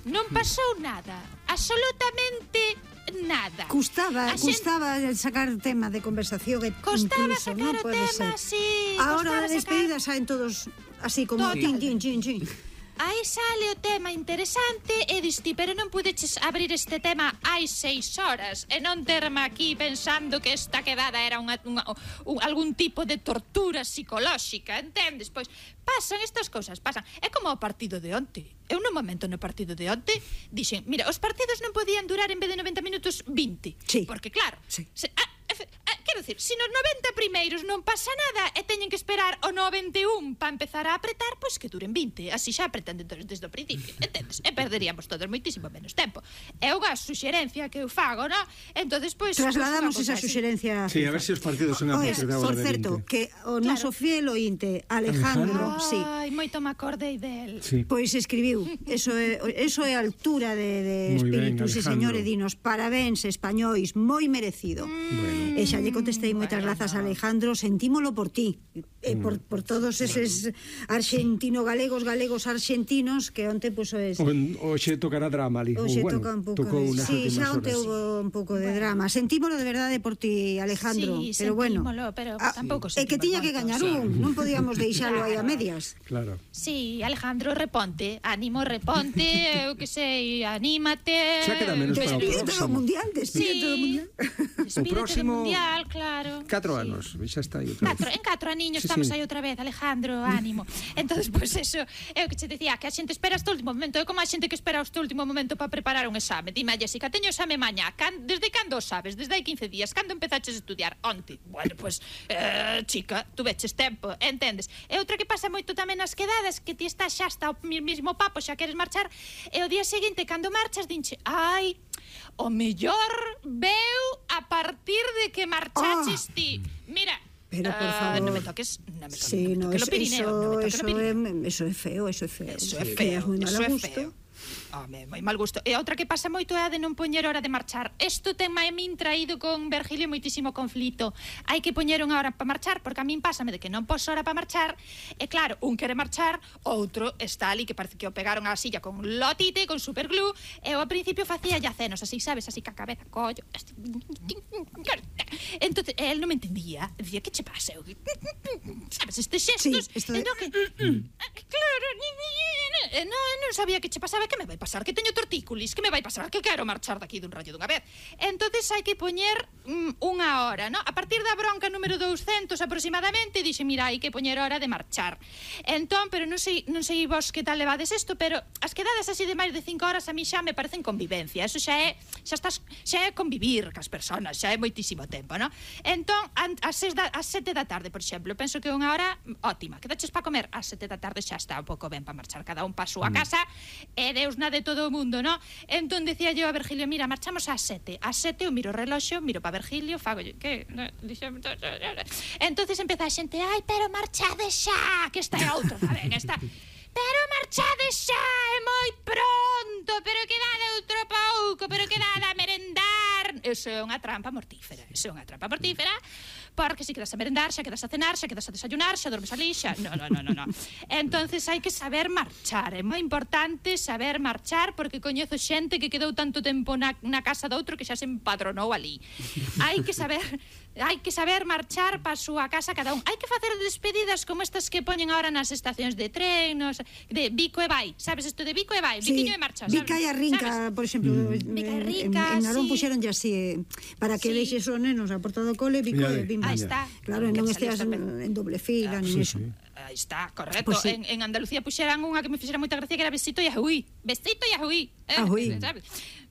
non pasou nada, absolutamente nada. Custaba sacar tema de conversación. Costaba sacar o tema, sí. Ahora a despedida saen todos así como tin. Aí sale o tema interesante e diste, pero non pudeches abrir este tema hai 6 horas e non terme aquí pensando que esta quedada era algún tipo de tortura psicolóxica, entendes? Pois pasan estas cousas, pasan. É como o partido de onte. Eu no momento no partido de onte dixen, mira, os partidos non podían durar en vez de 90 minutos 20. Sí. Porque claro, sí. Quero dicir, se nos 90 primeiros non pasa nada e teñen que esperar o 91 para empezar a apretar, pois que duren 20. Así xa apretan desde o principio, entendes? E perderíamos todos moitísimo menos tempo. É unha suxerencia que eu fago, non? Entonces, pois trasladamos esa suxerencia. Sí, a ver se os partidos son a partir de agora de 20. Por certo, que o noso fiel ointe Alejandro, sí. Ai, moito me acordei del. Sí. Pois escribiu, eso é a altura de espírito, sí, señor, e dinos, parabéns españois, moi merecido. Bueno. E xa lle contestei moitas grazas a Alejandro, sentímolo por ti, por todos eses argentino-galegos, argentinos, que onte puso Oxe tocará drama ali. Oxe toca un pouco. Sí, xa onte houve un pouco de drama. Sentímolo de verdade por ti, Alejandro. Sí, pero bueno, pero tampouco é que tiña que gañar non podíamos deixalo aí a medias. Claro. Sí, Alejandro, reponte, ánimo, reponte, eu que sei, anímate. Xa queda menos para o próximo. Despídete do mundial. Despídete do mundial, claro. 4 anos, xa está aí outra vez. En 4 aniños estamos aí outra vez, Alejandro, ánimo. Entonces, pois eso, é o que che dicía, que a xente espera hasta o último momento, é como a xente que espera hasta o último momento para preparar un exame. Dime, Jessica, teño exame mañá, desde cando sabes? Desde hai 15 días, cando empezaches a estudiar? Onte. Bueno, pois, chica, tú veches tempo, entendes? E outra que pasa moito tamén nas quedadas, que ti estás xa hasta o mismo papo, xa queres marchar, e o día seguinte, cando marchas, dinche, ai, o mellor veu a partir de que marchaches ti. Mira, pero por favor, non me toques, sí, no, eso é feo. Eso é moi mal gusto. Moi mal gusto. E outra que pasa moito é a de non poñer hora de marchar. Isto ten a min traído con Virgilio moitísimo conflito. Hai que poñer unha hora para marchar, porque a min pásame de que non poso hora para marchar, e claro, un quere marchar, outro está ali que parece que o pegaron á silla con lotite, con superglue, e eu ao principio facía yacenos así, sabes, así ca cabeza, collo. Entonces, él non me entendía. Dicía, que che pasa? Sabes, estes xestos, claro, non sabía que che pasaba. Que me vai pasar? Que teño tortícolis? Que me vai pasar? Que quero marchar daqui dun rayo dunha vez. Entonces hai que poñer unha hora, ¿no? A partir da bronca número 200 aproximadamente, dixe, mira, hai que poñer hora de marchar. Entón, pero non sei vos que tal levades isto, pero as quedadas así de máis de 5 horas a mí xa me parecen convivencia. Eso xa é convivir cas persoas, xa é moitísimo tempo, ¿no? Entón, ás 7 da tarde, por exemplo, penso que é unha hora ótima. Quedaches para comer ás 7 da tarde, xa está un pouco ben para marchar cada un pa a súa casa, e Deus na de todo o mundo, ¿no? Entón decía yo a Virgilio, mira, marchamos ás 7. Ás 7 eu miro o reloxo, miro para Virgilio, fago yo, que? Entonces empeza a xente, ai, pero marchade xa, que esta é outra, ben, esta... Pero marchade xa, é moi pronto, pero quedade outro pouco, pero quedade a merendar. Eso é unha trampa mortífera, porque se quedas a merendar, xa quedas a cenar, xa quedas a desayunar, xa dormes ali, xa... No. Entonces hai que saber marchar, é moi importante saber marchar, porque coñezo xente que quedou tanto tempo na casa do outro que xa se empadronou ali. Hai que saber marchar para a súa casa cada un. Hai que facer despedidas como estas que poñen ahora nas estacións de tren, de Vico e vai, sabes isto de Vico e vai, sí, Viquiño e marcha, sabes? Vica e a Rinca, por exemplo, en Narón puxeronlle así, para que deixes os nenos a porta do cole, Vico e Bimba. Aí está. Claro, non esteas en doble fila, nin eso. Aí está, correcto. En Andalucía puxeran unha que me fixera moita gracia, que era Besito e Ajuí.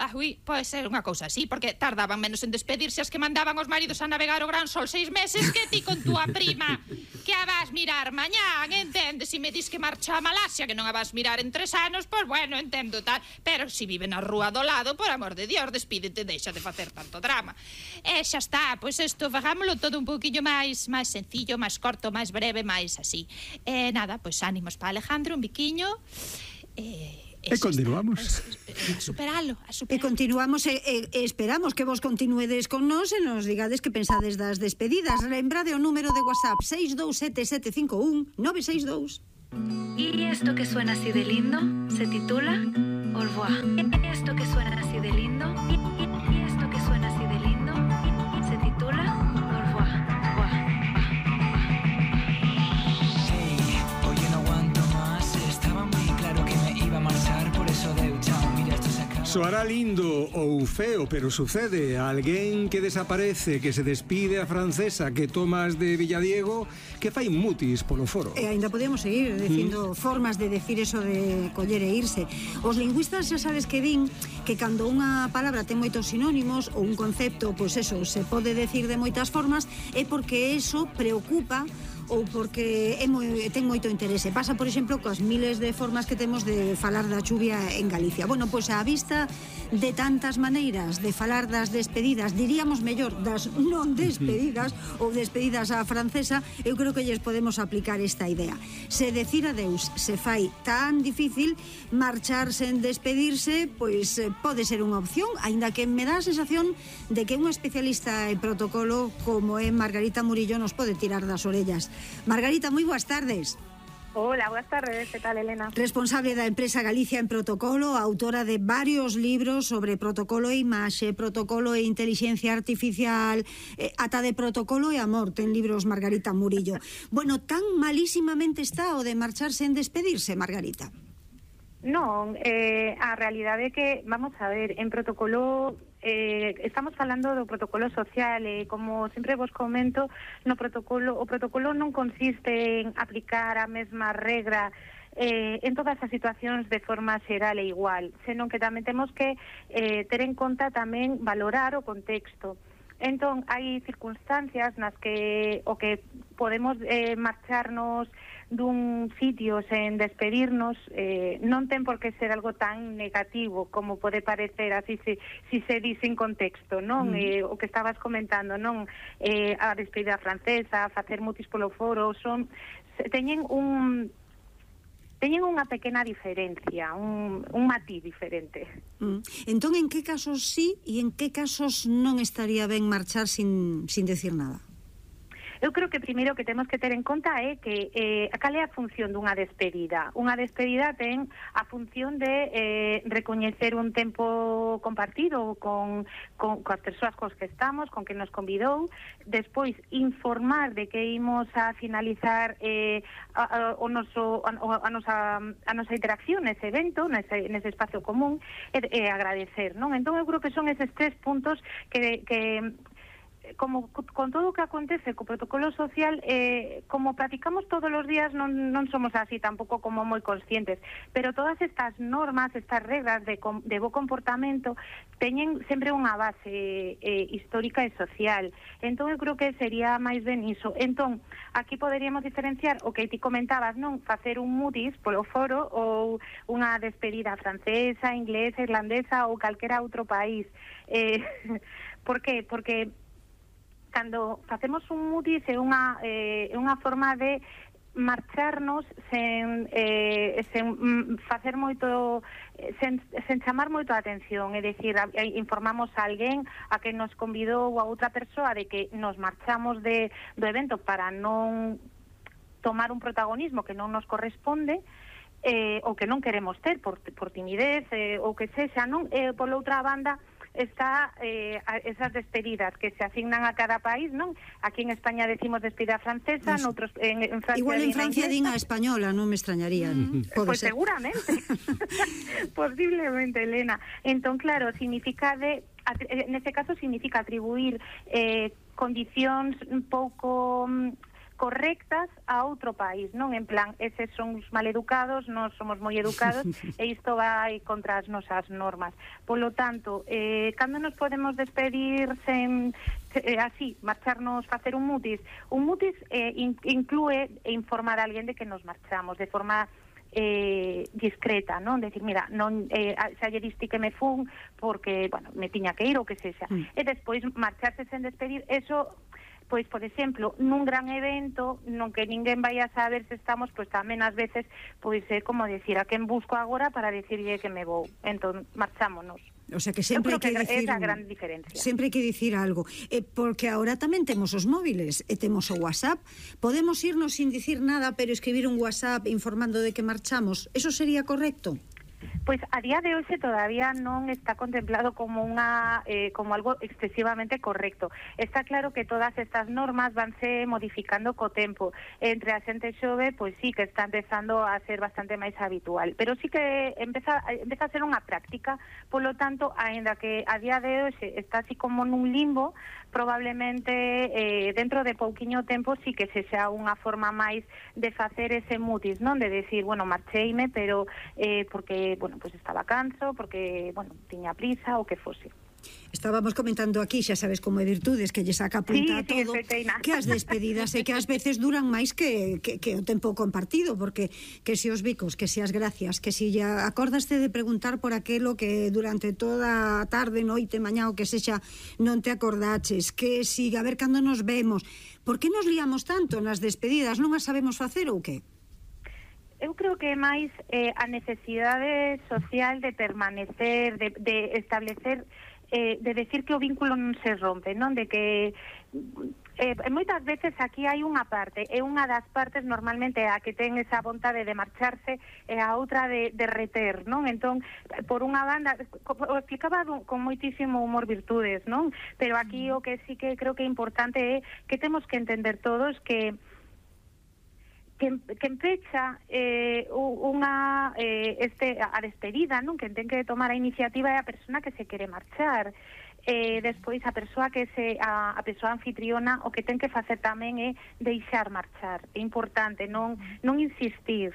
Ajuí, pode ser unha cousa así, porque tardaban menos en despedirse as que mandaban os maridos a navegar o Gran Sol 6 meses que ti con túa prima, que a vas mirar mañán, entendes? Se me dis que marcha a Malasia, que non a vas mirar en 3 anos, pois bueno, entendo tal, pero se vive na rúa do lado, por amor de Dios, despídete, deixa de facer tanto drama. E xa está, pois isto, fagámoslo todo un pouquinho máis sencillo, máis corto, máis breve, máis así. E nada, pois ánimos para Alejandro, un biquiño, E continuamos. A superalo. E continuamos e esperamos que vos continuedes con nós e nos digades que pensades das despedidas. Lembrade o número de WhatsApp 627751962. ¿Y esto que suena así de lindo se titula au revoir. Esto que suena así de lindo, y esto que suena así de lindo, se titula Au revoir. Hey, oye, no aguanto más. Estaba muy claro que me iba a marchar, por eso deu chao. Mira, esto se acaba. Soará lindo ou feo, pero sucede. Alguén que desaparece, que se despide a francesa que tomas de Villadiego, que fai mutis polo foro. E ainda podemos seguir dicindo formas de decir eso de coller e irse. Os lingüistas xa sabes que din que cando unha palabra ten moitos sinónimos ou un concepto, pois eso, se pode decir de moitas formas, é porque eso preocupa ou porque ten moito interese. Pasa, por exemplo, coas miles de formas que temos de falar da chuvia en Galicia. Bueno, pois a vista de tantas maneiras de falar das despedidas, diríamos mellor, das non despedidas ou despedidas á francesa, eu creo que lles podemos aplicar esta idea. Se decir adeus se fai tan difícil, marchar sen despedirse, pois pode ser unha opción, aínda que me dá a sensación de que unha especialista en protocolo como é Margarita Murillo nos pode tirar das orellas. Margarita, moi boas tardes. Hola, buenas tardes, ¿qué tal, Elena? Responsable da empresa Galicia en Protocolo, autora de varios libros sobre protocolo e imaxe, protocolo e inteligencia artificial, ata de protocolo e amor, ten libros Margarita Murillo. Bueno, tan malísimamente está o de marcharse en despedirse, Margarita? Non, a realidade é que, vamos a ver, en protocolo estamos falando do protocolo social e como sempre vos comento, o protocolo non consiste en aplicar a mesma regra en todas as situacións de forma xeral e igual, senón que tamén temos que ter en conta tamén valorar o contexto. Entón, hai circunstancias nas que o que podemos marcharnos dun sitio sen despedirnos non ten por que ser algo tan negativo como pode parecer así si se di sin contexto, non? O que estabas comentando, non? A despedida francesa, facer mutis polo foro, teñen unha pequena diferencia, un matiz diferente. Entón, en que casos sí e en que casos non estaría ben marchar sin decir nada? Eu creo que primeiro que temos que ter en conta é que cal é a función dunha despedida. Unha despedida ten a función de recoñecer un tempo compartido coas persoas cos que estamos, con que nos convidou, despois informar de que imos a finalizar a nosa interacción nese evento, nese espacio común, e agradecer, non? Entón eu creo que son eses tres puntos que como con todo o que acontece co protocolo social, como practicamos todos os días, non somos así tampouco como moi conscientes, pero todas estas normas, estas regras de bo comportamento teñen sempre unha base histórica e social. Entón eu creo que sería máis ben iso. Entón, aquí poderíamos diferenciar o que ti comentabas, non? Facer un mutis polo foro ou unha despedida francesa, inglesa, irlandesa ou calquera outro país. Por que? Porque cando facemos un mutis é unha forma de marcharnos sen facer moito, sen chamar moito a atención, é dicir, informamos a alguén a que nos convidou a outra persoa de que nos marchamos do evento para non tomar un protagonismo que non nos corresponde, ou que non queremos ter por timidez ou que sexa, non? Por outra banda está esas despedidas que se asignan a cada país, non? Aquí en España decimos despedida francesa, noutros en Francia igual en Francia din a española, non me extrañaría. Pois seguramente. Posiblemente, Elena. Entón, claro, significa nese caso significa atribuir condicións un pouco correctas a outro país, non? En plan, eses son os maleducados, nós somos moi educados e isto vai contra as nosas normas. Polo tanto, cando nos podemos despedir sen así, marcharnos, facer un mutis? Un mutis inclúe informar a alguén de que nos marchamos de forma discreta, non? Decir, mira, non xa lle diste que me fun porque, bueno, me tiña que ir ou que sexa. E despois marcharse sen despedir, eso, pois, por exemplo, nun gran evento non que ninguén vai a saber se estamos, pois tamén ás veces pois é como decir a quen busco agora para decirlle que me vou. Entón, marchámonos. O sea que sempre hai que dicir, é a gran diferencia. Sempre hai que dicir algo, porque agora tamén temos os móviles e temos o WhatsApp. Podemos irnos sin dicir nada, pero escribir un WhatsApp informando de que marchamos. Eso sería correcto? Pois a día de hoxe todavía non está contemplado como como algo excesivamente correcto. Está claro que todas estas normas vanse modificando co tempo. Entre a xente xove, pois sí que está empezando a ser bastante máis habitual, pero sí que empeza a ser unha práctica, polo tanto, aínda que a día de hoxe está así como nun limbo, probablemente dentro de pouquiño tempo sí que sexa unha forma máis de facer ese mutis, non? De decir, bueno, marcheime, pero porque, bueno, pues estaba canso, porque, bueno, tiña prisa, o que fose. Estábamos comentando aquí, xa sabes como é Virtudes, que lle saca punta a todo, que as despedidas e que ás veces duran máis que o tempo compartido, porque que se os bicos, que se as gracias, que se ya acordaste de preguntar por aquelo que durante toda a tarde, noite, mañá, o que sexa, non te acordaches, que si, a ver cando nos vemos. Por que nos liamos tanto nas despedidas? Non as sabemos facer ou que? Eu creo que é máis a necesidade social de permanecer, de establecer, de decir que o vínculo non se rompe, non? De que moitas veces aquí hai unha parte, é unha das partes normalmente a que ten esa vontade de marcharse e a outra de reter, non? Entón, por unha banda, o explicaba con moitísimo humor Virtudes, non? Pero aquí o que sí que creo que é importante é que temos que entender todos que empecha a despedida, non? Que ten que tomar a iniciativa é a persona que se quere marchar. Despois a persoa a persoa anfitriona o que ten que facer tamén é deixar marchar. É importante non insistir.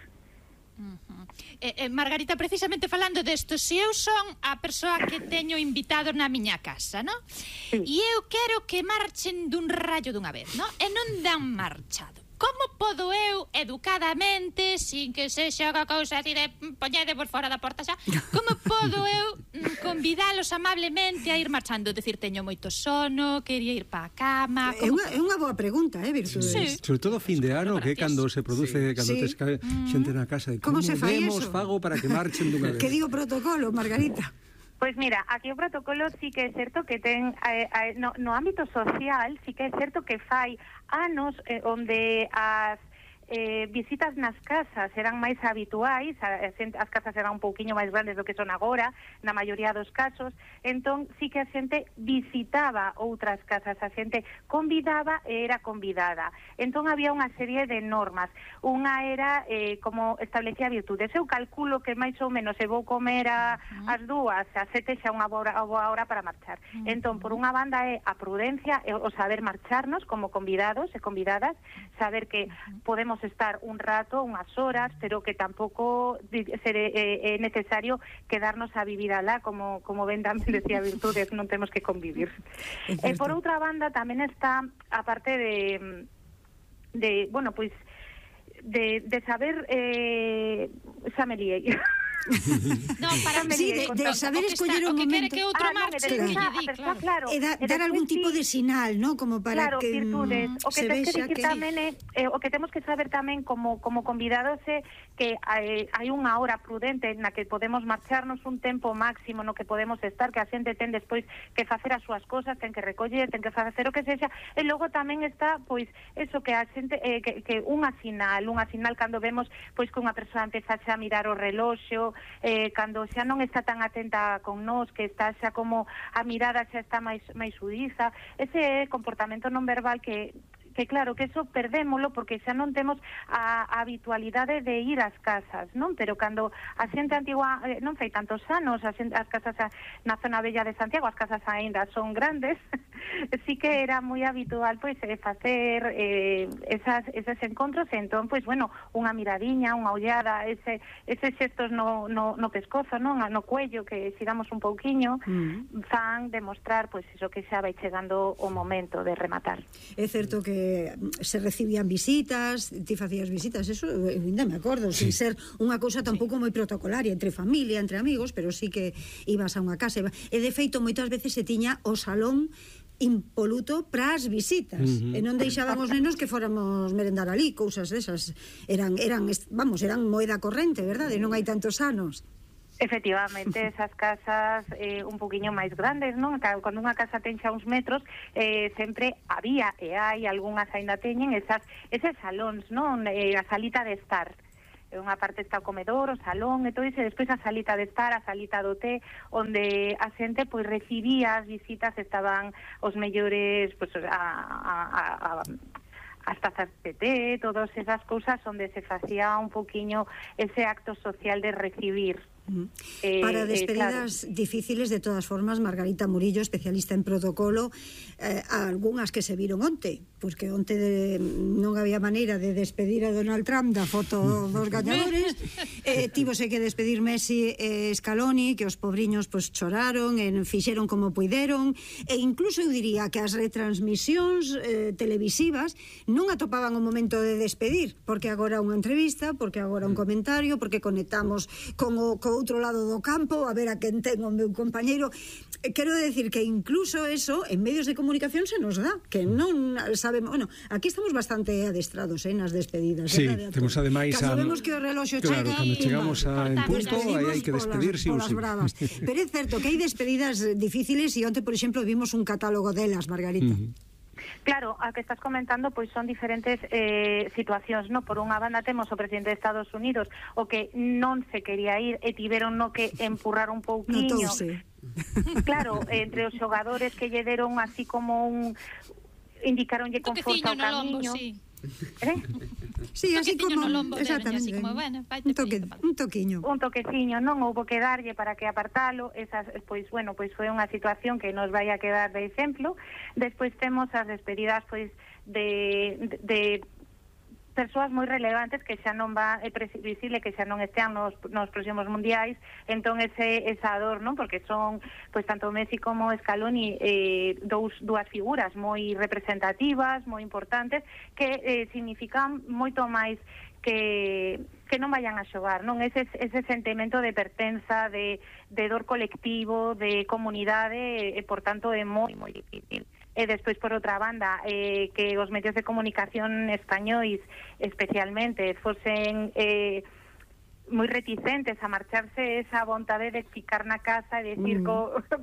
Margarita, precisamente falando desto, se eu son a persoa que teño invitado na miña casa, non? E eu quero que marchen dun rallo dunha vez, non? E non dan marchado. Como podo eu, educadamente, sin que sexa unha cousa así de poñede por fora da porta xa, como podo eu convidalos amablemente a ir marchando? Decir, teño moito sono, quería ir pa a cama... É unha boa pregunta, Virtudes? Sí. Sobre todo fin de ano, que é cando se produce, cando tes xente na casa, de como se fai vemos eso? fago para que marchen dunha vez. Que digo protocolo, Margarita? Pois mira, aquí o protocolo sí que é certo que ten no ámbito social sí que é certo que fai anos onde as visitas nas casas eran máis habituais, as casas eran un pouquiño máis grandes do que son agora, na maioría dos casos, entón sí que a xente visitaba outras casas, a xente convidaba e era convidada. Entón había unha serie de normas. Unha era como establecía Virtudes. Eu calculo que máis ou menos se vou comer ás 2, ás 7 xa unha boa hora para marchar. Entón, por unha banda é a prudencia, o saber marcharnos como convidados e convidadas, saber que podemos estar un rato, unhas horas, pero que tampouco é necesario quedarnos a vivir alá, como ben tamén decía Virtudes, non temos que convivir. Por outra banda, tamén está a parte de bueno, pois de saber xa me liei. No, para de saber escoller un momento. Que outro marche, que lle di, claro. E dar algún tipo de sinal, ¿no? Como para que Virtudes. O que se tens que vexa dicir tamén é, o que temos que saber tamén como convidados é que hai unha hora prudente na que podemos marcharnos, un tempo máximo no que podemos estar, que a xente ten despois que facer as súas cosas, ten que recoller, ten que facer o que sexa, e logo tamén está, pois, eso que a xente, que unha sinal cando vemos, pois, que unha persoa empeza a mirar o reloxo, cando xa non está tan atenta con nós, que está xa como a mirada xa está máis sudiza, ese comportamento non verbal que claro, que eso perdémolo porque xa non temos a habitualidade de ir ás casas, non? Pero cando a xente antigua non fai tantos anos, as casas na zona bella de Santiago, as casas aínda son grandes, sí que era moi habitual pois facer esos encontros, entón, pois, bueno, unha miradiña, unha ollada, eses xestos no pescozo, non? No cuello, que xiramos un pouquiño, fan demostrar, pois, iso que xa vai chegando o momento de rematar. É certo que se recibían visitas, ti facías visitas, eso ainda me acordo, sin ser unha cousa tampouco moi protocolaria entre familia, entre amigos, pero sí que ibas a unha casa e de feito moitas veces se tiña o salón impoluto para as visitas e non deixaban os nenos que fóramos merendar ali, cousas desas eran moeda corrente, verdade? Non hai tantos anos. Efectivamente, esas casas un poquinho máis grandes, non? Cando unha casa ten xa uns metros, sempre había e hai algunhas aínda teñen eses salóns, non? A salita de estar. unha parte está o comedor, o salón e todo iso, e despois a salita de estar, a salita do té, onde a xente pois recibía as visitas, estaban os mellores, pois as tazas de té, todas esas cousas onde se facía un poquinho ese acto social de recibir. Para despedidas difíciles, de todas formas, Margarita Murillo, especialista en protocolo, algunhas que se viron onte, porque onte non había maneira de despedir a Donald Trump da foto dos gañadores, tívose que despedir Messi e Scaloni, que os pobriños pois choraron, fixeron como puideron, e incluso eu diría que as retransmisións televisivas non atopaban o momento de despedir, porque agora unha entrevista, porque agora un comentario, porque conectamos con o outro lado do campo, a ver a quen ten o meu compañeiro. Quero decir que incluso eso en medios de comunicación se nos dá, que non sabemos, bueno, aquí estamos bastante adestrados nas despedidas. Sí, temos ademais cando vemos que o reloxo chega, cando chegamos en punto, aí hai que despedir sí ou sí. Pero é certo que hai despedidas difíciles, e onte, por exemplo, vimos un catálogo delas, Margarita. Claro, a que estás comentando pois son diferentes situacións, no? Por unha banda temos o presidente de Estados Unidos, o que non se quería ir e tiveron no que empurrar un pouquiño. Claro, entre os xogadores que lle deron así como indicaronlle con forza o camiño. Sí, así como, exactamente, un toqueciño, non houbo que darlle para que apartalo. Esas, pois bueno, pois foi unha situación que nos vai a quedar de exemplo. Despois temos as despedidas pois de persoas moi relevantes que xa non va previsible que xa non estean nos próximos mundiais, entón esa dor, non? Porque son, pois, tanto Messi como Scaloni dúas figuras moi representativas, moi importantes, que significan moito máis que non vayan a xogar, non? Ese sentimento de pertenza, de dor colectivo, de comunidade, e por tanto é moi difícil. E despois, por outra banda, que os medios de comunicación españois especialmente fosen moi reticentes a marcharse, esa vontade de ficar na casa e decir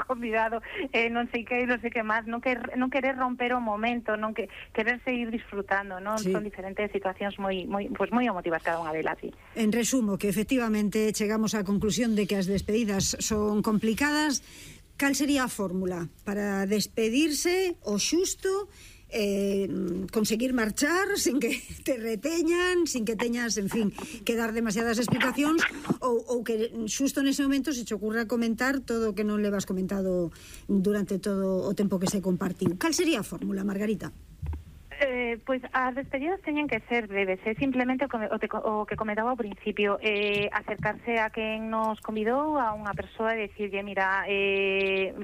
convidado non sei que máis, non querer romper o momento, non querer seguir disfrutando, non? Sí. Son diferentes situacións moi emotivas cada unha delas, sí. En resumo, que efectivamente chegamos á conclusión de que as despedidas son complicadas. Cal sería a fórmula para despedirse o xusto, conseguir marchar sin que te reteñan, sin que teñas, en fin, que dar demasiadas explicacións, ou que xusto nese momento se te ocurra comentar todo o que non levas comentado durante todo o tempo que se compartiu? Cal sería a fórmula, Margarita? Pois as despedidas teñen que ser breves, simplemente o que comentaba ao principio, acercarse a quen nos convidou, a unha persoa, e dicirlle, mira,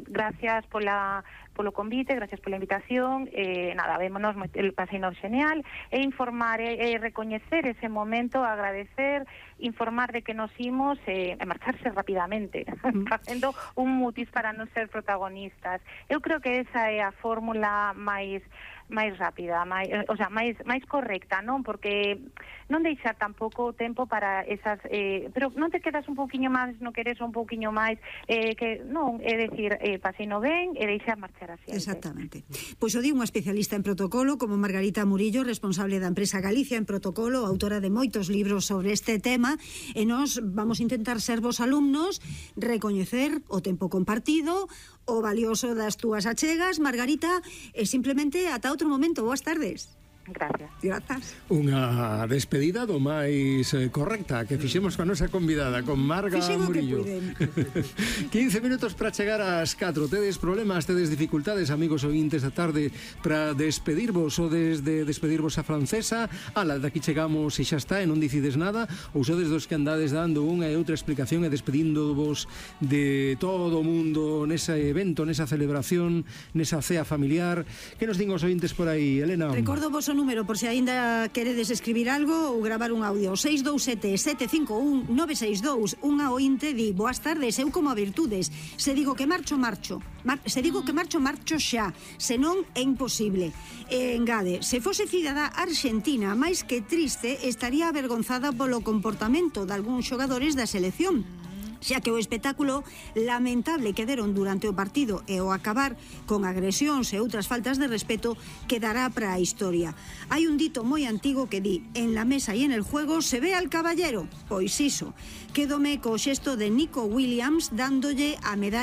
gracias polo convite, gracias pola invitación, nada, vémonos, el pasino genial, e informar, recoñecer ese momento, agradecer, informar de que nos imos, e marcharse rapidamente, facendo un mutis para non ser protagonistas. Eu creo que esa é a fórmula máis rápida, máis correcta, non? Porque non deixar tampouco o tempo para esas, pero non te quedas un pouquiño máis, non queres un pouquiño máis, que non, é dicir, pasino ben e deixar marchar así. Exactamente. Pois o di unha especialista en protocolo como Margarita Murillo, responsable da empresa Galicia en Protocolo, autora de moitos libros sobre este tema, e nós vamos a intentar ser vos alumnos, recoñecer o tempo compartido, o valioso das túas achegas, Margarita, e simplemente ata outro momento. Boas tardes. Grazas. Unha despedida do máis correcta que fixemos coa nosa convidada, con Marga Murillo. 15 minutos para chegar ás 4. Tedes problemas, tedes dificultades, amigos ointes da tarde, para despedirvos ou desde despedirvos a francesa? Ala, daqui chegamos e xa está, e non dicides nada, ou sodes dos que andades dando unha e outra explicación e despedíndovos de todo o mundo nese evento, nesa celebración, nesa cea familiar? Que nos din os ointes por aí, Elena? Recordo vos o número por se aínda queredes escribir algo ou gravar un audio. 627-751-962. Unha ointe di: boas tardes, eu como a virtudes, se digo que marcho xa, senón é imposible. E engade: se fose cidadá argentina, máis que triste, estaría avergonzada polo comportamento de algúns xogadores da selección. xa que o espectáculo lamentable que deron durante o partido e o acabar con agresións e outras faltas de respeto quedará para a historia. Hai un dito moi antigo que di: en la mesa y en el juego se ve al caballero. Pois iso, quédome co xesto de Nico Williams dándolle a medalla